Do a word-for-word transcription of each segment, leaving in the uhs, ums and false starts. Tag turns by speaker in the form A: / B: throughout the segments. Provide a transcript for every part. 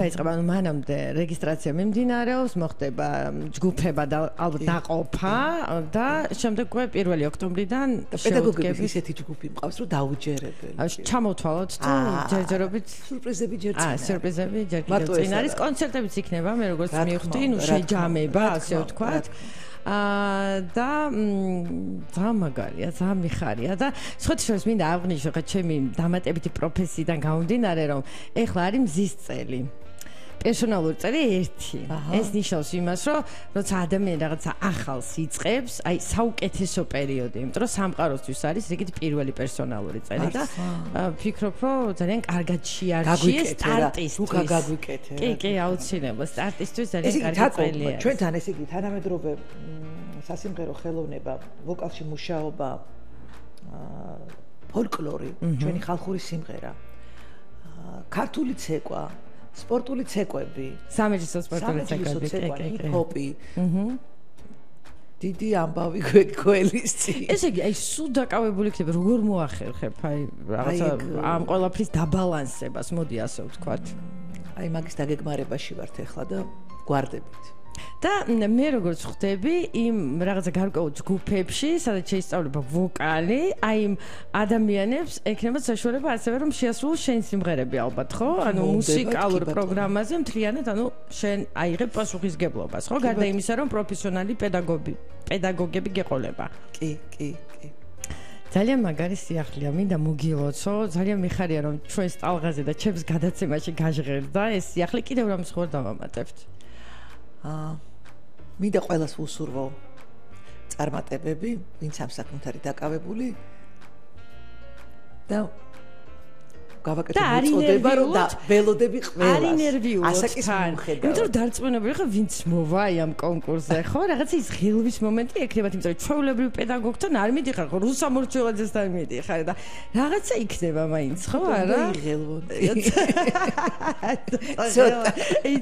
A: დაიწყება ანუ მანამდე რეგისტრაცია მიმდინარეობს, მოხდება ჯგუფება და ალბათ დაყოფა და შემდეგ უკვე პირველი ოქტომბრიდან
B: პედაგოგების ისეთი ჯგუფი მყავს, რომ დაუჯერებელი.
A: ჩამოვთვალოთ თუ ჯერჯერობით
B: სურპრიზები ჯერ წინ.
A: აა, სურპრიზები ჯერ კიდევ წინ არის. კონცერტებიც იქნება, მე როგორც მივხვდი, ნუ შეჯამება, ასე ვთქვათ. აა და ძალიან მაგარია, ძალიან მიხარია და სხვათაშორის მინდა აღვნიშნო, ხა ჩემი დამატებითი პროფესიიდან გამომდინარე, რომ ეხლა არის მზის წელი. პერსონალური წელი ერთი. ეს ნიშნავს იმას, რომ როცა ადამიანი რაღაცა ახალს იწყებს, აი საუკეთესო პერიოდი, იმიტომ რომ სამყაროსთვის არის რიგით პირველი პერსონალური წელი და ვფიქრობ, რომ ძალიან კარგად შეარჩიეს სტარტისთვის.
B: თუ გაგვიკეთე.
A: კი, კი, აუცილებლად სტარტისთვის ძალიან კარგი წელია.
B: ჩვენთან ესე იგი თანამედროვე სასიმღერო ხელოვნება, ვოკალში მუშაობა, ფოლკლორი, ჩვენი ხალხური სიმღერა, ქართული ცეკვა, სპორტული ცეკვები,
A: სამეჯლისო სპორტული ცეკვები,
B: ჰიპ-ჰოპი. აჰა. დიდი ამბავი გვეკველისწი.
A: ესე იგი, აი სულ დაკავებული იქნება, როგორ მოახერხებ აი რაღაცა ამ ყველაფრის დაბალანსებას, მოდი ასე ვთქვათ.
B: აი მაგის დაგეგმარებაში ვართ ახლა და გვარდებით.
A: და მე როგორც ხვდები იმ რაღაცა გარკვეულ ჯგუფებში, სადაც შეისწავლება ვოკალი, აი იმ ადამიანებს ექნებათ საშუალება ასევე რომ შეასრულოს შენ სიმღერები ალბათ, ხო? ანუ მუსიკალურ პროგრამაზე მთლიანად, ანუ შენ აიღებ პასუხისგებლობას, ხო? გარდა იმისა, რომ პროფესიონალი პედაგოგი, პედაგოგები გეყოლება.
B: კი, კი, კი.
A: ძალიან მაგარი სიახლეა, მინდა მოგილოცო, ძალიან მიხარია რომ ჩვენს ტალღაზე და ჩემს გადაცემაში გაჟღერდა ეს სიახლე, კიდევ რამის ხوار დავამატებთ.
B: აა მინდა ყველას უსურვო წარმატებები, ვინც ამ საქმით არის დაკავებული და გავაკეთებ უწოდება, რომ და ველოდები ყველას.
A: არ ინერვიულობ
B: ასაკის მიუხედავად.
A: იმიტომ რომ დარწმუნებული ხარ, ვინც მოვა აი ამ კონკურსზე, ხო? რაღაცა ის ღილვის მომენტი ექნებათ, იმიტომ რომ ჩვეულებრივ პედაგოგთან არ მიდიხარ, ხო? რუსა მორჩილაძესთან მიდიხარ და რაღაცა იქნება მაინც, ხო? არა?
B: იღელვოდი.
A: ცოტა,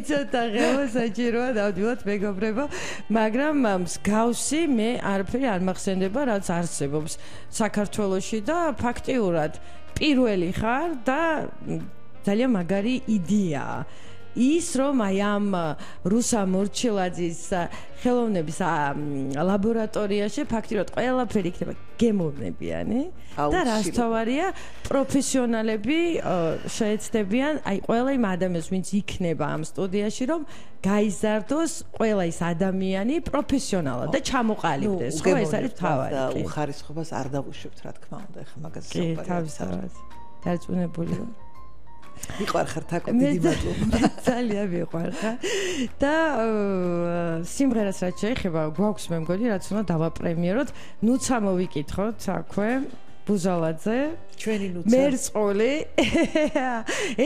A: ცოტა ღელვა საჭიროა დავდივოთ მეგობრებო, მაგრამ მსგავსი მე არაფერი არ მახსენდება, რაც არსებობს საქართველოში და ფაქტიურად პირველი ხარ და ძალიან მაგარი იდეაა. ის რომ აი ამ რუსა მორჩილაძის ხელოვნების ლაბორატორიაში ფაქტიურად ყველაფერი იქნება გემოვნებიანი და რაც თავარია პროფესიონალები შეეცდებიან აი ყველა იმ ადამიანს ვინც იქნება ამ სტუდიაში რომ გაიზარდოს ყველა ის ადამიანი პროფესიონალად და ჩამოყალიბდეს ხო ეს არის თავარი
B: და უხარისხობას არ დავუშვებთ რა თქმა უნდა ეხლა მაგაზე
A: კი თავისთავად დარწმუნებული ვარ
B: მიყვარხარ თაკო დიდი მადლობა
A: ძალიან მიყვარხარ და სიმღერას რაც შეეხება გვაქვს მე მგონი რაც უნდა დავაპრემიეროთ ნუცა მოვიკითხოთ აქვე ბუზალაძე
B: ჩვენი ნუცა
A: მერწყული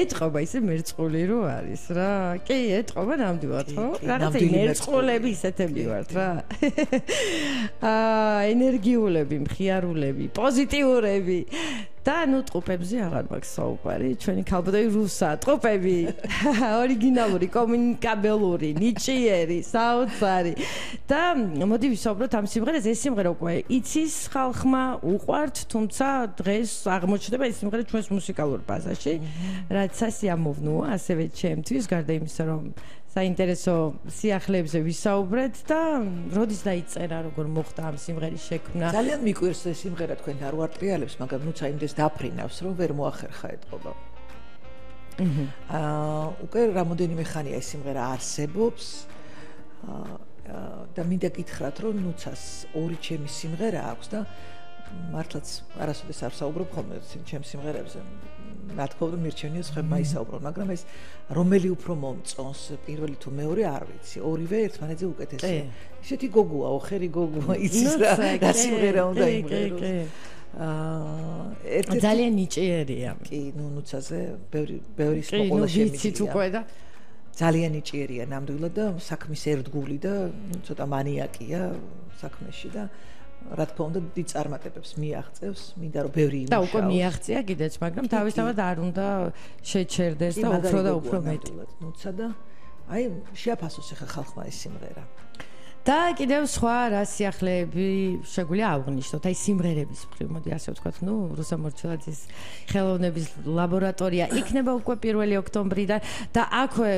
A: ეთყობა ისე მერწყული რო არის რა კი ეთყობა ნამდვილად ხო რაღაცა მერწყულები ისეთები ვართ რა აა ენერგიულები მხიარულები პოზიტიურები და ნუ ტყუპებზე აღარ მაქვს საუბარი ჩვენი ქალბატონი რუსა ტყუპები ორიგინალური კომუნიკაბელური ნიჭიერი საოცარი და მოდი ვისაუბროთ ამ სიმღერაზე ეს სიმღერა უკვე იცის ხალხმა უყვართ თუმცა დღეს აღმოჩნდება ეს სიმღერა ჩვენს მუსიკალურ ბაზაში რაც სასიამოვნოა ასევე ჩემთვის გარდა იმისა რომ საინტერესო სიახლეებზე ვისაუბრეთ და როდის დაიწერა როგორ მოხდა ამ სიმღერის შექმნა
B: ძალიან მიკვირს ეს სიმღერა თქვენ არ ვარტრიალებს მაგრამ ნუცა იმდეს დაფრინავს რომ ვერ მოახერხა ეთყობა აა უკვე რამოდენიმე ხანია ეს სიმღერა არსებობს და მინდა გითხრათ რომ ნუცას ორი ჩემი სიმღერა აქვს და მართლაც არასოდეს არ საუბრობ ხოლმე ჩემ სიმღერებზე რა თქმა უნდა მირჩენია ხება ისაუბრონ მაგრამ ეს რომელი უფრო მომწონს პირველი თუ მეორე არ ვიცი ორივე ერთმანეთზე უკეთესია ისეთი გოგოა ოხერი გოგოა იცის რა რა სიმღერა უნდა იმღეროს აა ერთი
A: ძალიან ნიჭიერია
B: კი ნუ ნუცაზე ბევრი ბევრი სპოკოლა შემიძლია ძალიან ნიჭიერია ნამდვილად და საქმის ერთგული და ცოტა მანიაკია საქმეში და რა თქმა უნდა დიდ წარმატებებს მიაღწევს, მინდა რომ ბევრი იმუშაოს.
A: და უკვე მიაღწია კიდეც, მაგრამ თავისთავად არ უნდა შეჩერდეს და უფრო და უფრო მეტი.
B: ნუცა და აი შეაფასოს ახლა ხალხმა ეს სიმღერა.
A: და კიდევ სხვა რა სიახლეები შეგვიძლია აღვნიშნოთ, აი სიმღერების მხრივ, მოდი ასე ვთქვათ, ნუ რუსა მორჩილაძის ხელოვნების ლაბორატორია იქნება უკვე პირველი ოქტომბრიდან და აქვე